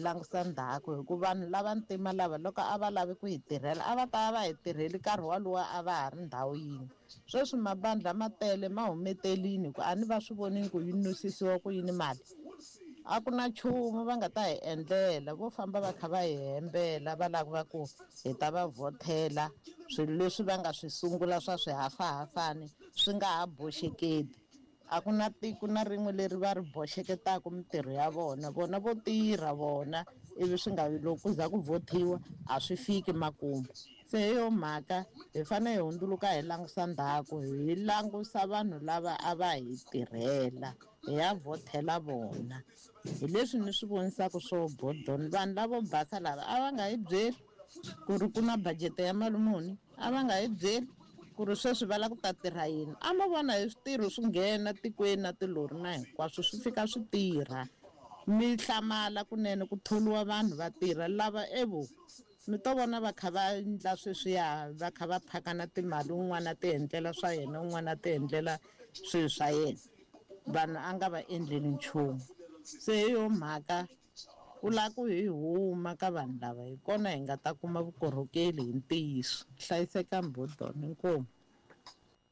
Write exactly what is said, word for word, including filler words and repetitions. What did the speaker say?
langusa ndzhaku hi ku vanhu lava ntima lava loko a va lavi ku hi tirhela a va ta va hi tirheli nkarhi walowo a va ha ri ndhawu yin'we. Sweswi mabandla ma tele ma humetelini ku a ni va swi vonini ku yi nusisiwa ku yini mali. A ku na nchumu va nga ta hi endlela vo famba va kha va hi hembela va lava ku hi ta va vhothela swilo leswi va nga swi sungula swa swihafahafani swi nga ha boxeketi. A ku na tiko na rin'we leri va ri boxeketaka mintirho ya vona vona vo tirha vona ivi swi nga loko ku za ku vhothiwa a swi fiki makumu. Se hi yo mhaka hi fanele hi hundzuluka hi langusa ndzhaku hi langusa vanhu lava a va hi tirhela hi ya vhothela vona. Hi leswi ni swi vonisaka swo bodoni vanhu lavo basa lava a va nga hi byeli ku ri ku na budget ya mali muni a va nga hi byeli ku ri sweswi va lava ku ta tirha yini. A mo vona hi switirho swi nghena tikweni na tilori na hinkwaswo swi fika swi tirha mi hlamala kunene ku tholiwa vanhu va tirha lava evo mi to vona va kha va endla sweswiya va kha va phakana timali un'wana a ti endlela swa yena un'wana a ti endlela swilo swa yena vanhu a nga va endleli nchumu. Se hi yo mhaka ku lava ku hi huma ka vanhu lava hi kona hi nga ta kuma vukorhokeli hi ntiyiso. Hlayisekani bodoni inkomu.